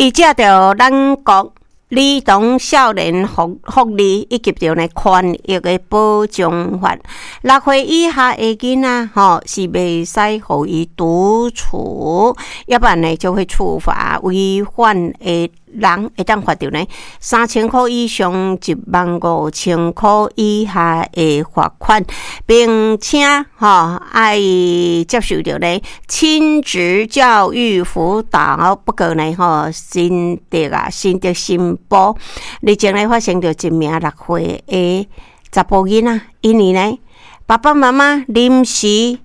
伊藉著咱國兒童少年福利以及著呢權益的保障法，6歲以下的囡仔吼是袂使予伊獨處，猶不然呢就會處罰違反的人會當罰著呢3000箍以上15,000箍以下的罰款，並且吼愛接受著呢親職教育輔導。不過呢吼新竹啊新竹新埔日前呢發生著一名6歲的查埔囡仔，因為呢爸爸媽媽臨時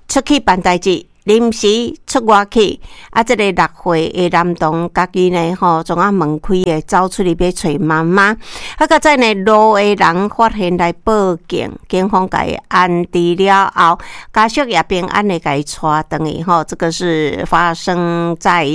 出去辦代誌，臨時出外去，啊，這个6歲的男童家己呢，吼，創啊門開的走出去欲揣媽媽，啊，閣再呢路的人發現來報警，警方共伊安置了後，家屬也平安的共伊帶轉去，吼，這個是發生在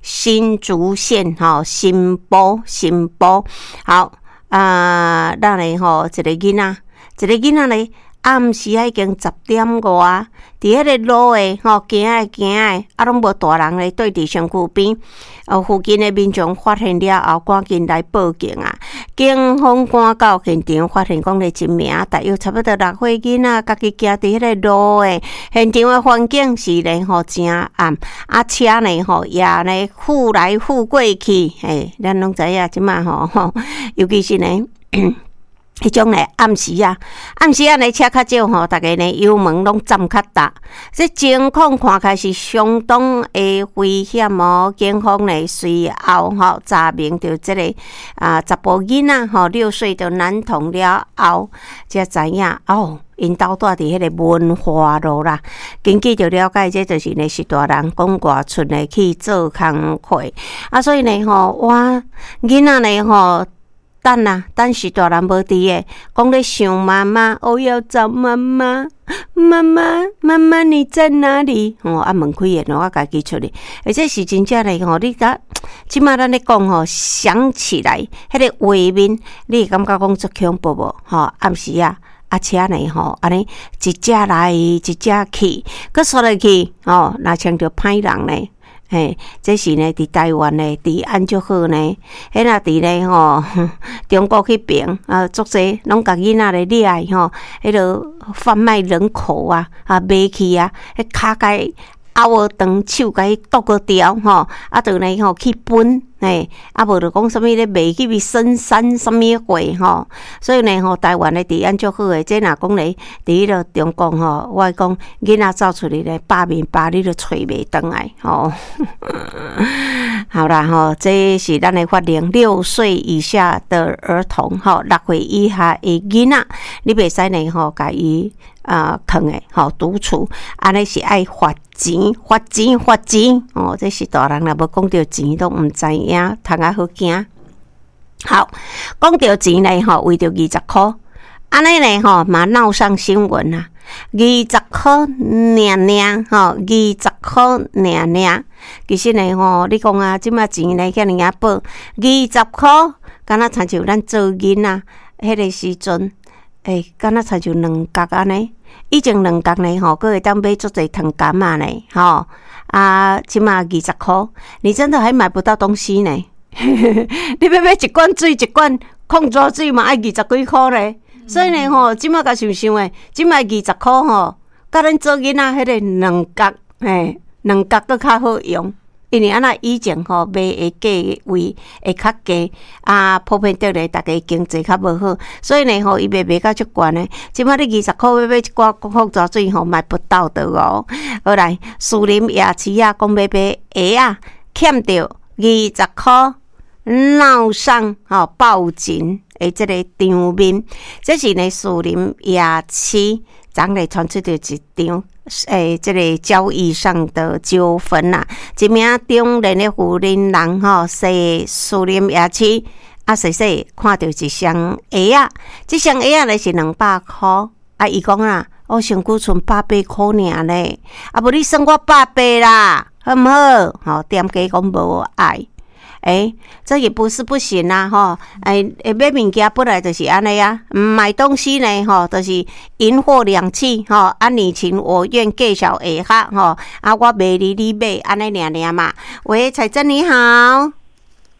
新竹縣，吼，新埔新埔，好，啊，咱呢吼，一个囡仔，一个囡仔呢。暗時仔已經10點外，佇彼個路的吼行的行的，啊攏無大人咧綴佇身軀邊，哦附近的民眾發現了後，趕緊來報警啊！警方趕到現場，發現講咧一名大約差不多6歲囡仔，家己行佇彼個路的現場的環境是咧吼誠暗，啊車呢吼也咧呼來呼過去，嘿，咱攏知影這馬吼，尤其是呢。彼種咧暗時啊，暗時啊咧車較少吼，逐家呢油門攏攢較踏，這情況看起來是相當的危險哦。警方呢隨後吼查明著這个啊查埔囡仔吼6歲的男童了後，才知影哦，𪜶兜蹛佇彼个文化路啦。根據著了解，這就是呢是大人講外出呢去做工課啊，所以呢吼，哇囡仔呢吼。等啊，等是大人無佇的，講咧想媽媽，我要找媽媽，媽媽，媽媽你在哪裡？吼啊門開的，我家己出去，而這是真正的吼，你甲這馬咱咧講吼，想起來，彼个畫面，你會感覺講足恐怖無？吼，暗時啊，啊車呢吼，按呢一隻來一隻去，閣煞落去，吼，若像著歹人呢。嘿，這是呢，佇台灣呢，治安足好呢。彼若佇咧吼，中國彼爿啊，足濟攏共囡仔咧掠去吼，彼落販賣人口啊，啊賣去啊，彼跤共伊拗長，手共伊剁個掉吼，啊，就呢吼去分，嘿，啊無就講啥物咧賣去深山啥物貨吼。所以呢吼，台灣的治安足好的，這若講咧，佇彼落中國吼，我講囡仔走出去咧，百面百你都揣袂轉來吼。好啦吼，這是咱的法令，6歲以下的兒童吼，6歲以下的囡仔，你袂使呢吼，共伊啊囥的吼獨處，按呢是愛罰錢，罰錢，罰錢哦！這是大人若無講著錢，攏毋知影，通較好驚。好，講著錢呢吼，為著二十箍，按呢呢吼嘛鬧上新聞啊！二十箍爾爾吼，二十箍爾爾。其實呢吼，你講啊，這馬錢呢遐爾仔薄，二十箍，敢若親像咱做囡仔彼个時陣，欸，敢若親像2角按呢。以前兩角呢吼，閣會當買足濟糖柑仔呢，吼啊，這馬二十箍，你真的還買不到東西呢。你欲買一罐水，一罐礦泉水嘛愛二十幾箍呢。所以呢吼，這馬共想想的，這馬二十箍吼，佮咱做囡仔彼个兩角，嘿，兩角閣較好用。因為按呢以前吼賣的價位會較低，啊，普遍著咧，逐家經濟較無好，所以呢吼，伊賣賣甲足懸的。這馬你二十箍欲買一罐礦泉水吼，買不到的哦。好來，士林夜市啊，講欲買鞋仔，欠著二十箍，鬧上吼報警的這個場面，這是呢士林夜市，昨日傳出著一場。欸，這个交易上的糾紛啦，一名中年的婦人吼，踅士林夜市，啊，踅踅看著一雙鞋仔，這雙鞋仔咧是200箍，啊，伊講啊，我身軀賰百八箍爾咧，啊，無你算我百八啦，好毋好？吼，店家講無愛。欸，這也不是不行啊，吼！欸，買物件本來就是按呢啊，買東西呢，吼，就是銀貨兩訖，吼，啊，你情我願，計數會合，吼，啊，我賣你，你買，按呢爾爾嘛。喂，彩珍你好。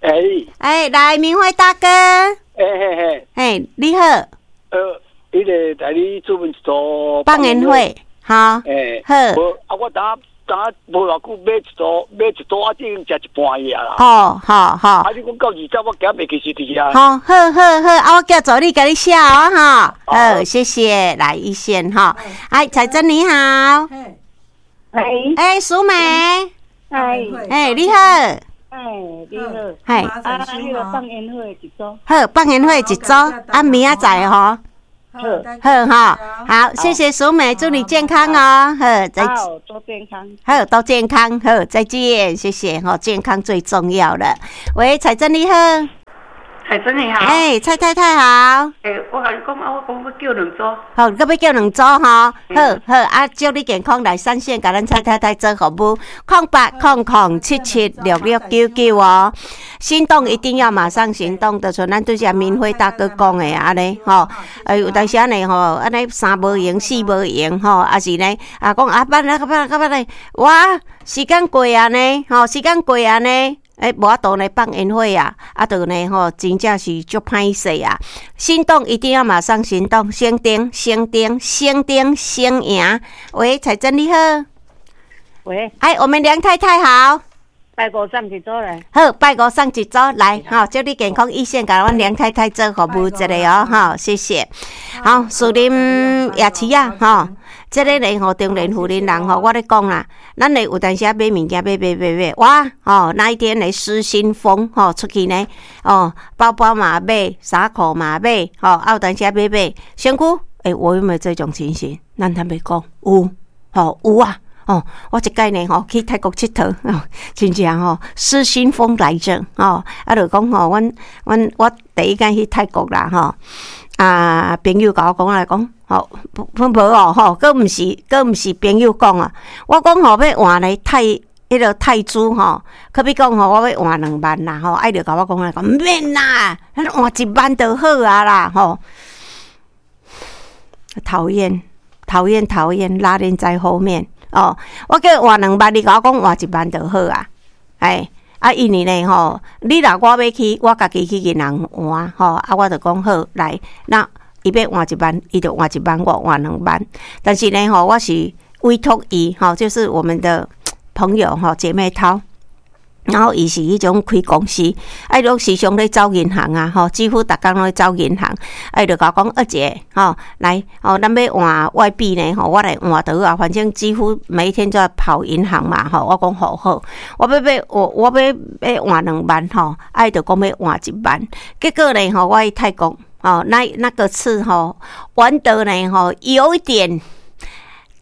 哎，哎，來明輝大哥，欸嘿嘿，哎，你好。彼个代理主辦一組放煙火，好，欸，好。無啊，我當當無偌久買一組，買一組啊，已經食一半去啊啦。好好好。啊，你講到20，我今袂記是佇遐。好，好好好，啊，我叫助理共你寫哦，哈，好，謝謝，來一線哈，哎，彩珍你好，哎，哎，淑美，哎，哎，你好，哎，你好，嘿，啊，彼个放煙火一組，好，放煙火一組，啊，明仔載吼。好，好哈，好，謝謝淑美，祝你健康哦，好，再好，多健康，好，都健康，好，再見，謝謝，吼，健康最重要了。喂，彩珍你好，彩珍你好，哎，蔡太太好，欸，我共你講啊，我講欲叫兩組，好，閣欲叫兩組吼，好好啊，祝你健康，來三線共咱蔡太太做服務，0800776699哦，心動一定要馬上行動，就像咱拄才明輝大哥講的按呢吼，哎，有當時按呢吼，按呢三無閒四無閒吼，抑是呢啊講啊，辦啊辦啊辦咧，哇，時間過啊呢，吼，時間過啊呢。欸，無法度呢放煙火啊，啊，就呢吼，真正是足歹勢啊！心動一定要馬上行動，先定先定先定先贏。喂，彩珍你好。喂。哎，我們梁太太好。拜五送一組來。好，拜五送一組來，吼，祝你健康一線，共阮梁太太做服務一下哦，吼，謝謝。好，樹林夜市啊，吼。這个呢吼，中年婦人人吼，我咧講啦，咱咧有當時啊買物件買買買買，哇吼，那一天咧失心瘋吼出去呢，哦，包包嘛買，衫褲嘛買，吼，啊有當時啊買買，身軀，欸，我有沒有這種情形？咱坦白講，有，吼有啊，哦，我一擺呢吼去泰國𨑨迌，哦，真正吼失心瘋來著，吼，啊就講吼，阮阮我第一擺去泰國啦，吼。啊！朋友共我講來講，吼，無哦，吼，閣毋是，閣毋是朋友講啊。我講吼，欲換咧泰，彼个泰銖吼，可比講吼，我欲換2萬啦，吼，啊伊就共我講來講，毋免啦，咱換1萬就好啊啦，吼。討厭，討厭，討厭，拉鏈在後面哦。我叫伊換兩萬，伊共我講換一萬就好啊，哎。啊，因為呢吼，你若我欲去，我家己去銀行換吼，啊，我就講好來，那伊欲換一萬，伊就換一萬，我換兩萬。但是呢吼，我是委託伊吼，就是我們的朋友吼，姐妹淘。然後伊是彼種開公司，啊，伊攏時常咧走銀行啊，吼，幾乎逐工攏咧走銀行。啊，伊就共我講，二姐，吼，來，吼，咱欲換外幣呢，吼，我來換就好啊，反正幾乎每一天都在跑銀行嘛，吼，我講好好，我欲欲我我欲欲換兩萬，吼，啊，伊就講欲換一萬，結果呢，吼，我去泰國，吼，那那個次吼，玩得呢，吼，有一點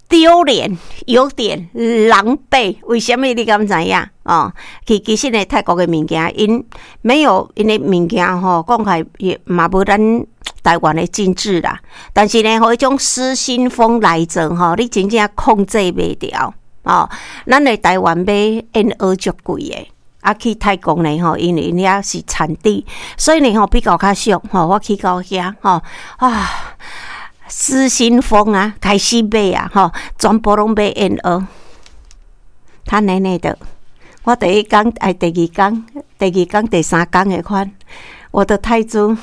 丟臉，有點狼狽，為啥物你敢知影？哦，其其實呢，泰國的物件，𪜶沒有𪜶的物件吼，講起來也嘛無咱台灣的精緻啦。但是呢，吼，彼種失心瘋來著吼，你真正控制袂牢哦。咱的台灣買燕窩足貴的。啊，去泰國呢吼，因為𪜶遐是產地，所以呢吼比較較俗吼。我去到遐吼啊，失心瘋啊，開始買啊吼，全部攏買燕窩。他奶奶的，我第一工哎，第二工、第二工、第三工的款，我的泰銖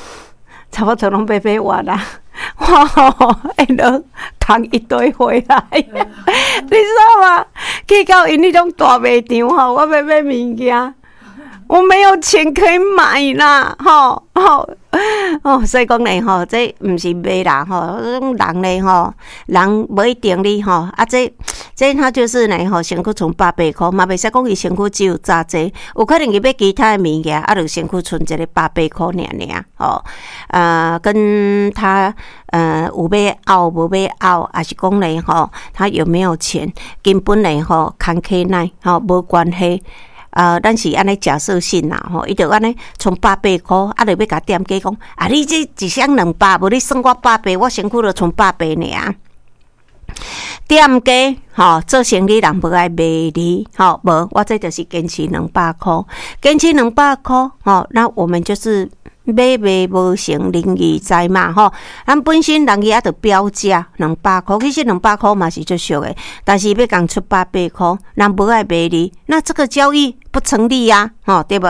差不多攏欲買完啦。我吼燕窩扛一堆回來，你知道嗎？去到𪜶彼種大賣場吼，我欲買物件，我沒有錢可以買啦，吼吼哦，所以講呢吼，這毋是罵人吼，這種人呢吼，人無一定你吼，啊這這他就是呢吼，身軀賰百八箍，嘛袂使講伊身軀只有紮濟，有可能伊買其他的物件，啊，就身軀賰一个百八箍爾爾，吼，跟他有欲拗無欲拗，抑是講呢吼，他有沒有錢，根本呢吼，牽起來吼無關係。啊，咱是按呢假設性啦，吼，伊就按呢賰百八箍，啊，就欲共店家講，啊，你這一箱200，無你算我百八，我身軀就賰百八爾。店家吼做生意人無愛賣你，吼無，我這就是堅持兩百箍，堅持兩百箍，吼，那我們就是買賣無成仁義在嘛，吼，咱本身人伊也著標價兩百箍，其實兩百箍嘛是足俗的，但是欲共出百八箍，人無愛賣你，那這個交易。不成立啊，吼，對無？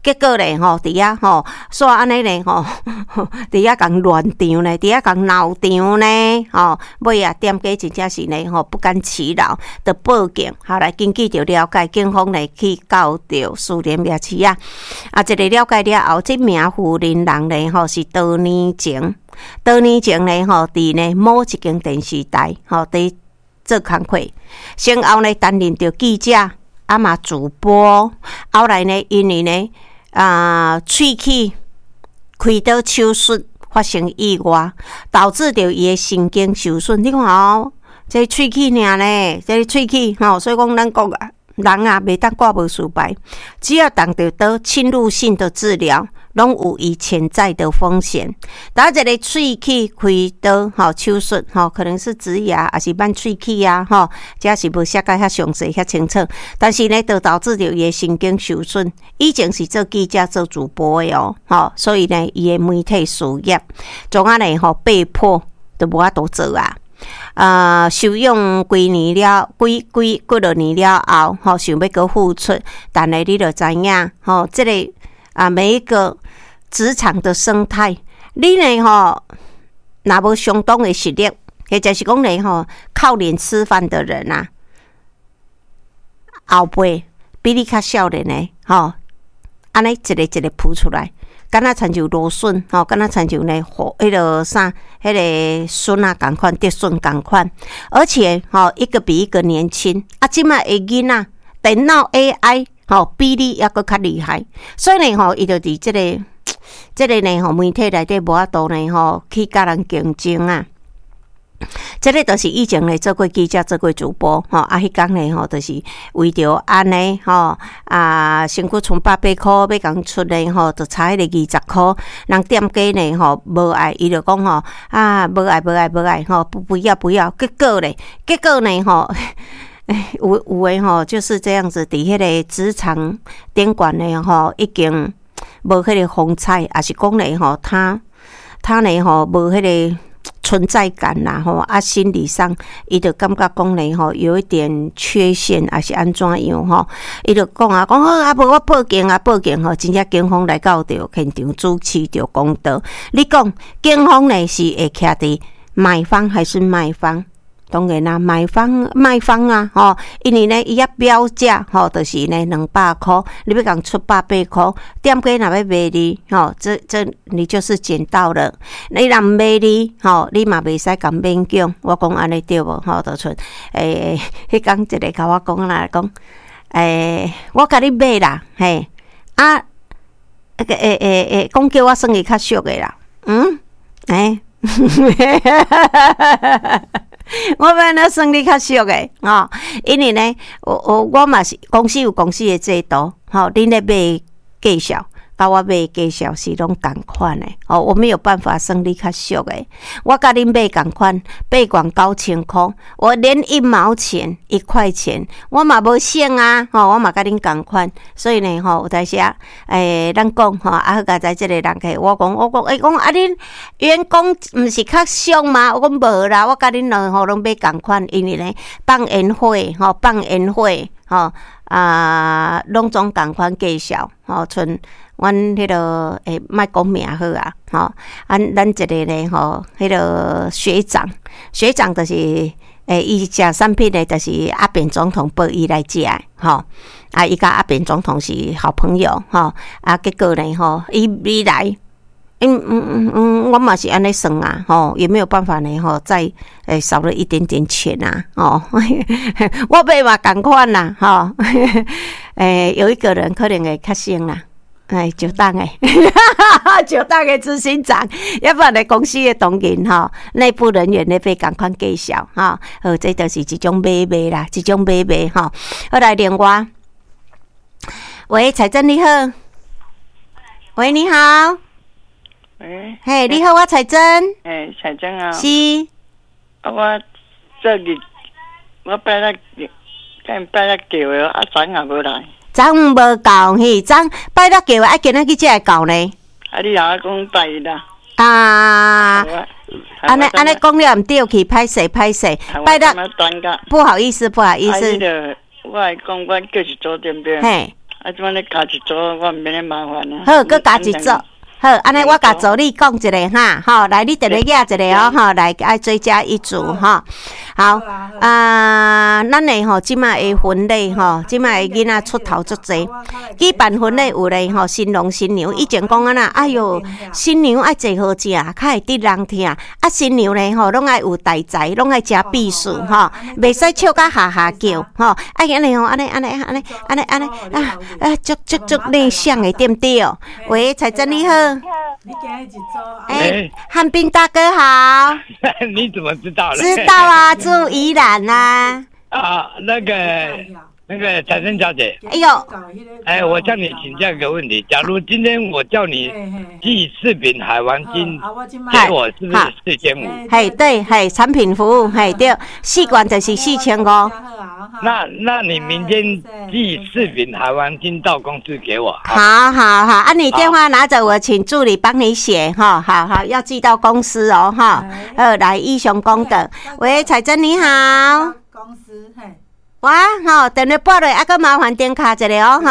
結果咧，吼，佇遐吼，煞按呢咧，吼，佇遐共亂場咧，佇遐共鬧場呢，吼，尾啊，店家真正是呢，吼，不甘其勞，就報警，後來根據著了解，警方呢去到著士林夜市啊，啊，這个了解了後，這名婦人人咧，吼，是多年前，多年前咧，吼，佇呢某一間電視台，吼，佇做工課，先後呢擔任著記者。啊嘛主播，後來呢，因為呢，啊，喙齒開刀手術發生意外，導致著伊的神經受損。你看哦，這喙齒爾呢，這喙齒吼，所以講咱講啊，人啊，袂當掛無事牌，只要動著刀侵入性的治療，攏有伊潛在的風險。打一个喙齒開刀吼手術吼，可能是植牙，抑是挽喙齒啊吼，這是無寫甲遐詳細遐清楚。但是呢，就導致著伊的神經受損。以前是做記者、做主播的哦，吼，所以呢，伊的媒體事業，總啊呢吼被迫都無法度做啊。啊，休養幾年了，幾幾幾落年了後，吼，想欲閣復出，但係你就知影，吼，這個啊，每一個職場的生態，你呢吼，若無相當的實力，或者是講呢吼，靠臉吃飯的人啊，後輩比你較少年的吼，按呢一个一个浮出來，敢若親像蘆筍吼，敢若親像呢，彼个啥，彼个筍仔仝款，竹筍仝款，而且吼，一個比一個年輕。啊，這擺的囡仔，電腦 AI 吼，比你猶閣較厲害，所以呢吼，伊就佇這个這个呢吼，媒體內底無法度呢吼，去佮人競爭啊。這个就是以前咧做過記者、做過主播，吼啊，彼工咧吼，就是為著按呢吼啊，身軀賰百八箍欲共出咧吼，就差彼个20箍，人店家呢吼無愛，伊就講吼啊，無愛無愛無愛吼，不不要不要，結果咧，結果呢吼，有有的吼就是這樣子，佇彼个職場頂懸咧吼，已經無彼个風采，抑是講咧吼，他他咧吼無彼个存在感啦吼，啊，心理上伊就感覺講咧吼，有一點缺陷，抑是按怎樣吼？伊就講啊，講好啊，無我報警啊，報警吼，真正警方來到著現場主持著公道。你講警方呢是會徛佇買方還是賣方？當然啦，買方賣方啊，吼，因為呢，伊遐標價吼，就是呢200箍，你欲共出百八箍，店家若欲賣你，吼，這這你就是撿到了。你若毋賣你，吼，你嘛袂使共勉強。我講按呢對無？吼，就像欸，彼工一個共我講啦，講，欸，我共你買啦，嘿，啊，欸欸欸，講叫我算伊較俗的啦，嗯，欸。我欲按怎算你較俗的吼？因為呢，我我我嘛是公司有公司的制度，吼，恁咧買價數，佮我買價數是攏仝款的，吼，我沒有辦法算你較俗的。我共恁買仝款，8萬9千箍，我連一毛錢一塊錢，我嘛無省啊，吼，我嘛共恁仝款，所以呢，吼，有當時啊，欸，咱講吼，啊，好佳哉這个人客，我講我講，欸，講啊，恁員工毋是較俗嗎？我講無啦，我共恁兩吼攏買仝款，因為呢，放煙火吼，放煙火吼，啊，攏總仝款價數，吼，像阮彼个欸，莫講名好啊，吼，啊，咱一个咧吼，彼个學長，學長就是欸，伊食產品的，就是阿扁總統報伊來食的，吼，啊，伊佮阿扁總統是好朋友，吼，啊，結果呢，吼，伊伊來，嗯嗯嗯嗯，我嘛是按呢算啊，吼，也沒有辦法呢，吼，再欸少了一點點錢啊，吼，我買嘛仝款啦，吼，欸，有一個人可能會較省啦。哎，石董的，石董的執行長，猶不然咧公司的同仁吼，內部人員咧買仝款價數吼，好，這就是一種買賣啦，一種買賣吼。好來電話，喂，彩珍你好，喂，你好，喂，嘿，你好，我彩珍，欸，彩珍啊，是，啊，我這日我拜六拜六叫的，啊，昨也無來。昨昏無到嘿，昨拜六叫的，啊，今仔去才會到呢。啊，你若講拜一啦。啊，按呢按呢講了毋對去，歹勢歹勢，拜六不好意思不好意思。我來講，我叫一組對毋對？嘿。啊，這擺你加一組，我毋免咧麻煩啊。好，閣加一組。好，按呢我共助理講一下哈，吼，來你電話寄一下哦，吼，來愛追加一組吼。好，啊，咱的吼這擺的婚禮吼，這擺的囡仔出頭足濟，舉辦婚禮有咧吼，新郎新娘以前講按怎，哎喲，新娘愛坐好食，較會得人疼，啊，新娘咧吼，攏愛有大才，攏愛食美食吼，袂使笑甲哈哈叫吼，愛按呢吼，按呢按呢按呢按呢按呢啊啊，足足足內向的對毋對？喂，彩珍你好。哎，漢斌大哥好。你怎麼知道的？知道啊，住宜蘭啊。啊，那個彩珍小姐。哎呦。哎，我向你請教一個問題：假如今天我叫你寄四餅海王星給我，是不是4500？嘿，對，嘿，產品服務，嘿，對，四罐就是4500。那你明天寄四餅海王星到公司給我。好好好，啊，你電話拿着，我請助理幫你寫哈。好好，要寄到公司哦，哈。來，以上講的，喂，彩珍你好。公司嘿。哇，吼，電話撥落，啊，閣麻煩電卡一下哦，吼，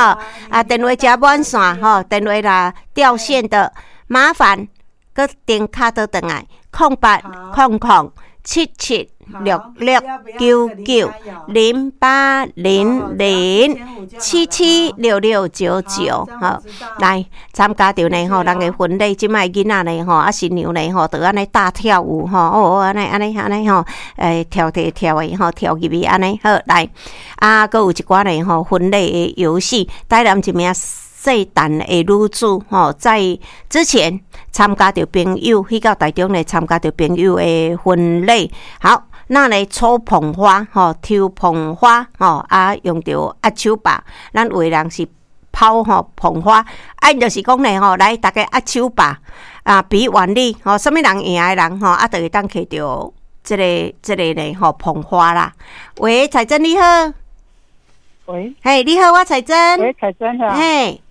啊，電話誠滿線，吼，電話若掉線的，麻煩閣電卡倒轉來，08007766990800776699，好，來參加著呢吼，人的婚禮，這擺囡仔呢吼，啊新娘呢吼，就按呢大跳舞吼，哦，按呢按呢按呢吼，欸，跳跳跳的吼，跳入去按呢，好來，啊，閣有一寡呢吼，婚禮的遊戲，台南一名細膽的女子吼，在之前參加著朋友去到台中呢，參加著朋友的婚禮，好。那咧抽捧花吼，抽捧花吼，啊用著壓手把，咱有的人是拋吼捧花，啊𪜶就是講咧吼，來逐家壓手把啊，比腕力吼，啥物人贏的人吼，啊，就會當摕著這個咧吼捧花啦。喂，彩珍你好。喂。嘿，你好，我彩珍。喂，彩珍啊。嘿。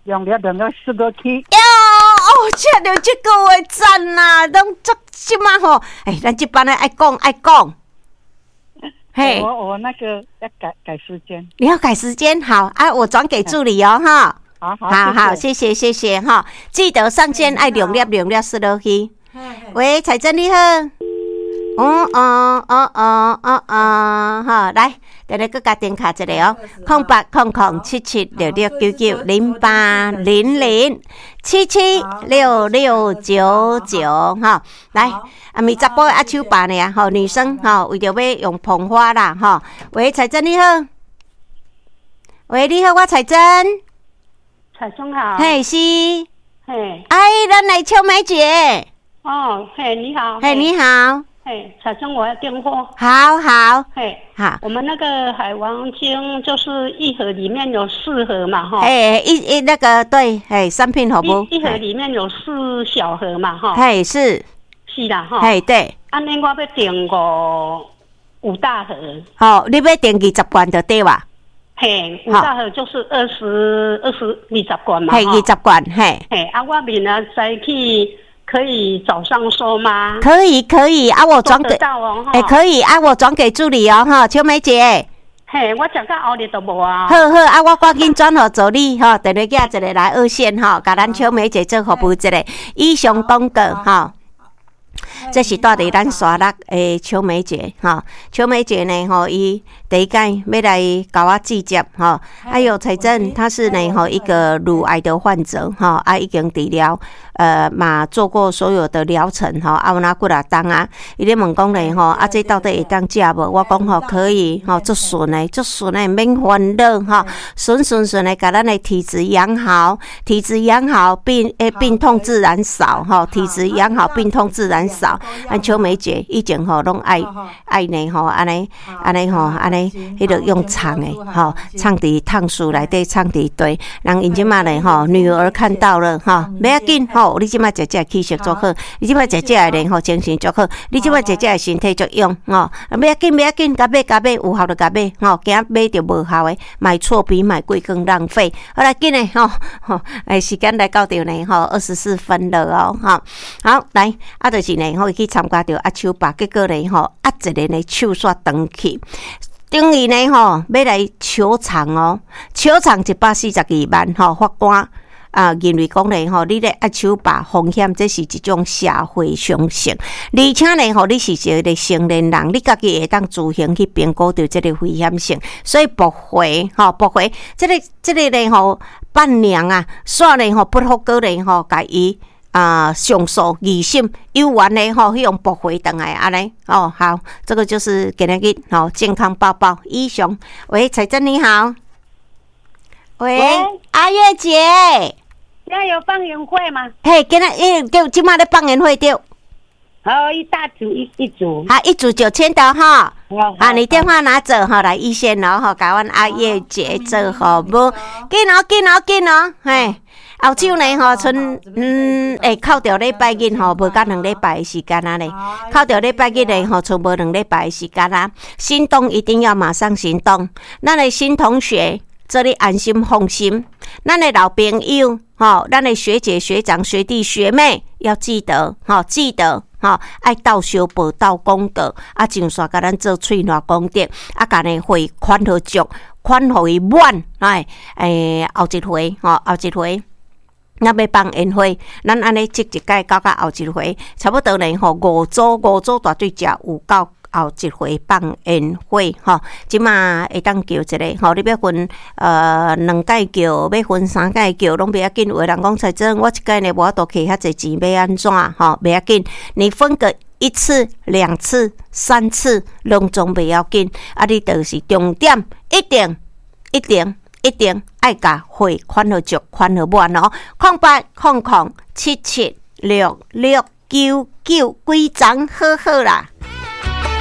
兩粒兩粒四個七。喲，哦，聽著這句話讚啦，攏足這馬吼，欸，咱這班的愛講愛講。嘿，我那個要改改時間。你要改時間，好啊，我轉給助理哦，哈。好好好好，謝謝謝謝哈，記得上線愛兩粒兩粒四落去。喂，彩珍你好。哦哦哦哦哦哦，好，來，等下閣共電卡一下哦，08007766990800776699，哈，來，啊，咪查埔壓手把呢，吼，女生吼，為著欲用捧花啦，吼，喂，彩珍你好，喂，你好，我彩珍，彩珍好，嘿是，嘿，哎，咱來秋梅姐，哦，嘿，你好，嘿，你好。嘿，彩珍，我要訂貨。好好，嘿，好。我們那個海王星就是一盒裡面有四盒嘛，哈。哎，一那個對，嘿，三片好不？一盒裡面有四小盒嘛，哈。嘿，是。是啦，哈。嘿，對。按呢，我欲訂五大盒。好，你欲訂20罐就對吧？嘿，五大盒就是20罐嘛。嘿，20罐，嘿。嘿，啊，我明仔載去。可以早上收嗎？可以可以啊，我轉給，欸，可以啊，我轉給助理哦，哈，秋梅姐。嘿，我食到後日都無啊。好好啊，我趕緊轉予助理吼，電話寄一個來二線吼，共咱秋梅姐做服務一下。以上廣告吼。這是蹛佇咱沙鹿的秋梅姐吼，秋梅姐呢吼，伊第一擺欲來共我接觸吼，哎喲，彩珍她是呢吼一個乳癌的患者吼，啊已經治療，嘛做過所有的療程吼，啊有哪幾若冬啊，伊咧問講咧吼，啊這到底會當食無？我講吼可以吼，足順的，足順的，免煩惱吼，順順順的，共咱的體質養好，體質養好，病痛自然少吼，體質養好，病痛自然少。咱秋梅姐以前吼攏愛愛呢吼，按呢按呢吼，按呢彼個用藏的吼，藏佇炕書內底，藏佇地。人𪜶這馬咧吼，女兒看到了吼，袂要緊吼，你這馬食這氣色足好，你這馬食這个咧吼，精神足好，你這馬食這個身體足勇吼，袂要緊袂要緊，共買共買，有效就共買吼，驚買著無效的，買錯比買貴更浪費。好來緊嘞吼吼，欸，時間來到著呢吼，24分了哦，吼，好來，啊，就是呢，吼，伊去參加著壓手把，結果呢吼，壓一个呢手煞斷去。等於呢吼，欲來求償哦，求償142萬吼，法官啊認為講咧吼，你咧壓手把風險，這是一種社會常識，而且呢吼，你是一个成年人，你家己會當自行去評估著這个危險性，所以駁回吼，駁回這個咧吼，伴娘啊，煞咧吼不服閣咧吼，共伊啊上訴二審有緣的吼，彼種駁回轉來按呢哦。好，這個就是今仔日吼健康報報以上。喂，彩珍你好。喂，阿月姐。現在有放煙火嗎？嘿，今仔日對，這馬咧放煙火對。好，一大組一組。好，一組9000的哈。啊，你電話拿走哈，來一線哦吼，共阮阿月姐做服務。緊哦，緊哦，緊哦，嘿。後手呢吼，賰會扣著禮拜日吼，無甲2禮拜的時間啊咧，扣著禮拜日咧吼，賰無兩禮拜的時間啊。心動一定要馬上行動。咱的新同學，做你安心放心。咱的老朋友吼，咱的學姐學長學弟學妹要記得吼，記得吼，愛鬥相報鬥廣告，啊，上線共咱做喙瀾功德，啊，共呢匯款予足，款予伊滿，哎，後一回吼，後一回。咱欲放煙火，咱按呢積一擺到到後一回，差不多呢吼，五組五組大隊才有夠後一回放煙火吼。這馬會當叫一个吼，你欲分兩擺叫，欲分三擺叫，攏袂要緊。有的人講彩珍，我一擺呢無法度摕遐濟錢，欲按怎吼？袂要緊，你分個一次、兩次、三次，攏總袂要緊。啊，你就是重點，一定、一定、一定愛共匯款予足，款予滿哦。0800776699，規層好好啦。